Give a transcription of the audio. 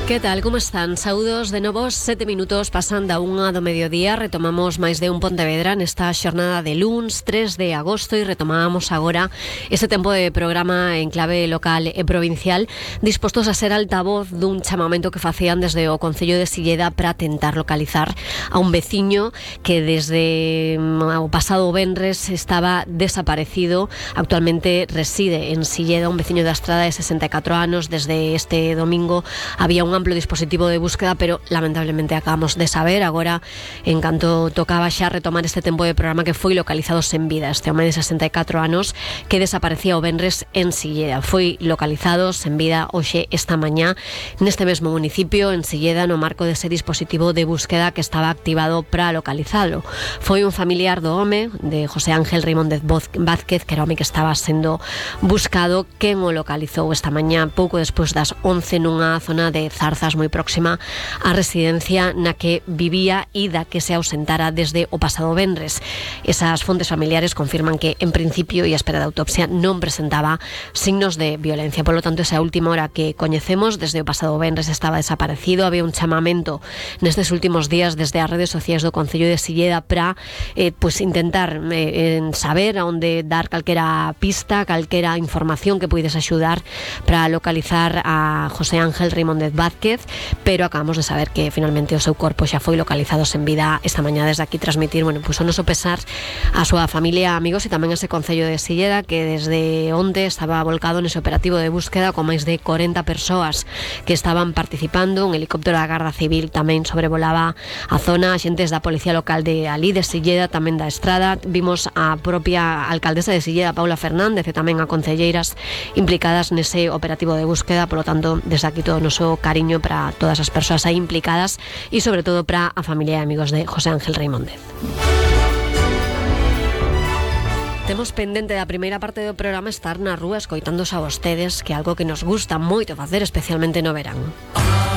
Que tal, como están? Saúdos de novo, 7 minutos pasan da 1 do mediodía. Retomamos máis de un Pontevedra nesta xornada de luns 3 de agosto e retomamos agora ese tempo de programa en clave local e provincial, dispostos a ser altavoz dun chamamento que facían desde o Concello de Silleda para tentar localizar a un veciño que desde o pasado venres estaba desaparecido. Actualmente reside en Silleda, un veciño da Estrada de 64 anos. Desde este domingo había un amplo dispositivo de búsqueda, pero lamentablemente acabamos de saber agora, en canto tocaba xa retomar este tempo de programa, que foi localizado sen vida este home de 64 anos que desaparecía o venres en Silleda. Foi localizado sen vida hoxe esta mañá neste mesmo municipio, en Silleda, no marco dese dispositivo de búsqueda que estaba activado para localizalo. Foi un familiar do home, de José Ángel Reimóndez Vázquez, que era o home que estaba sendo buscado, quen o localizou esta mañá pouco despois das 11 nunha zona de Zarzas moi próxima á residencia na que vivía e da que se ausentara desde o pasado venres. Esas fontes familiares confirman que, en principio, e a espera de autopsia, non presentaba signos de violencia. Por lo tanto, esa última hora que coñecemos, desde o pasado venres estaba desaparecido. Había un chamamento nestes últimos días desde as redes sociais do Concello de Silleda para intentar saber a onde dar calquera pista, calquera información que puides axudar para localizar a José Ángel Reimóndez Vázquez, pero acabamos de saber que finalmente o seu corpo xa foi localizado sen vida esta mañá. Desde aquí transmitir, o noso pesar a súa familia, amigos e tamén ese Concello de Silleda, que desde onde estaba volcado nese operativo de búsqueda con máis de 40 persoas que estaban participando. Un helicóptero da Garda Civil tamén sobrevolaba a zona, axentes da Policía Local de alí de Silleda, tamén da Estrada. Vimos a propia alcaldesa de Silleda, Paula Fernández, e tamén a concelleiras implicadas nese operativo de búsqueda. Por lo tanto, desde aquí todo o noso cariño para todas as persoas aí implicadas e sobre todo para a familia e amigos de José Ángel Reimóndez. Temos pendente da primeira parte do programa estar na rúa escoitándose a vostedes, que é algo que nos gusta moito facer, especialmente no verán.